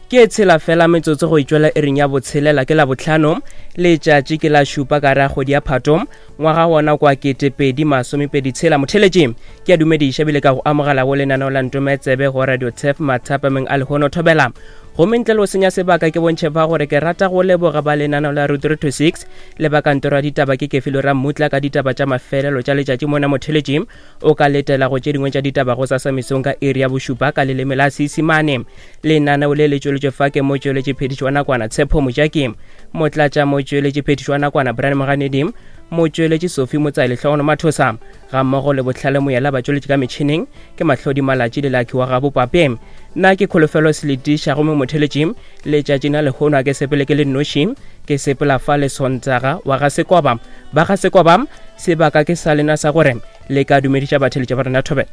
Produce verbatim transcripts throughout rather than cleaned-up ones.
Ke tshela fela metsotso go itšwela iring ya botshelela ke la botlhano letšatši ke la šupa ka re a kgwedi ya Phato ngwaga wona kwa ketepedi masomepedi tshela. Motheletši ke a dumediša ebile ka go amogela go lenaneo la Ntometsebe go Radio Tef mathapameng a lehono thobela. Gomme ntle le go senya sebaka ke bontšhe fa gore ke rata go leboga ba lenaneo la Route three two six le ba kantoro ya ditaba ke Kefilo Rammutla ka ditaba tša mafelelo tša letšatši mona. Motheletši o ka letela go tše dingwe tša ditaba go sasa mesong ka iri ya bošupa ka leleme la Seisemane. Lenaneo le le tšweletšwe fa ke motšweletši phetišo wa nakwana Tshepo Mojaki, motlatša motšweletši phetišo wa nakwana Brian Moganedi, motšweletši Sophie Motsaile Hlogono Mathosa, ga mmogo le Bohlale Moyela batšweletši ka metšhineng ke Mahlodi Malatši le Lucky wa gabo Pape. Nna ke Kholofelo Seletiša gomme motheletši letšatši na lehono a ke sepele ke le nnoši, ke sepela fa le Sontaga wa ga Sekoba. Ba ga Sekoba sebaka ke sa lena sa gore le ka dumediša batheletši ba rena thobela.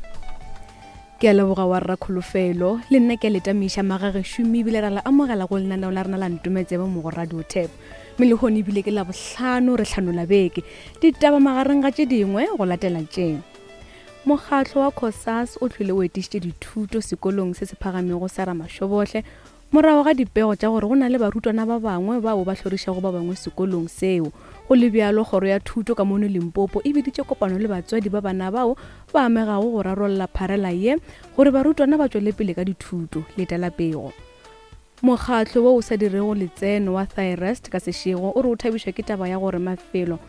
Ke a leboga wa rra Kholofelo, le nna ke a le tamiša magagešomi ebile ra le amogela go lenaneo la rena la Ntometsebe mo go Radio Tap. Mme lehono ebile ke la bohlano re hlanola beke. Ditaba magareng ga tše dingwe go latela tše. Mokgatlo wa COSAS o tlhole o etišitše dithuto sekolong se se phagamego sa Ramashobohle morago ga dipego tša gore go na le barutwana ba bangwe bao ba hlorišago ba bangwe sekolong seo. Go le bjalo, kgoro ya thuto ka mono Limpopo e biditše kopano le batswadi ba bana bao ba amegago go rarolla pharela ye gore barutwana ba tšwele pele ka dithuto. Letela pego. Mokgatlo wo o sa dirego letseno wa Thyrest ka sešego o re o thabišwa ke taba ya gore mafelo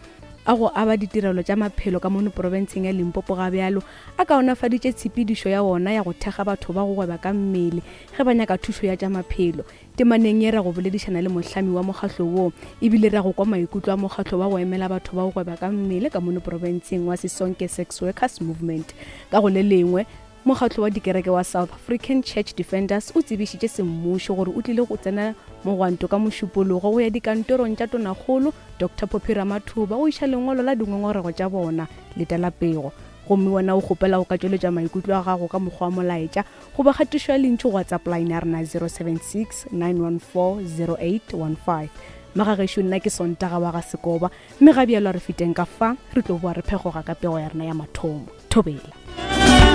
a go aba ditirelo tša maphelo ka mono profenseng ya Limpopo ga bjalo a kaonafaditše tshepedišo ya ona ya go thekga batho ba go gweba ka mmele ge ba nyaka thušo ya tša maphelo. Temaneng ye ra go boledišana le mohlami wa mokgatlo wo ebile ra go kwa maikutlo a mokgatlo wa go emela batho ba go gweba ka mmele ka mono profenseng wa Sisonke Sex Workers Movement. Ka go le lengwe, mokgatlo wa dikereke wa South African Church Defenders o tsebišitše semmušo gore o tlile go tsena mogwanto ka mošupologo go ya dikantorong tša tonakgolo Doctor Phophi Ramathuba go iša lengwalo la dingongorego tša bona. Letela pego. Gomme wena o kgopela go ka tšweletša maikutlo a gago ka mokgwa wa molaetša goba kgatišo ya lentšu go WhatsApp line ya rena zero seven six nine one four zero eight one five. Magagešo nna ke Sontaga wa ga Sekoba mme ga bjalo re feteng ka fa re tlo boa re phegoga ka pego ya rena ya mathomo. Thobela.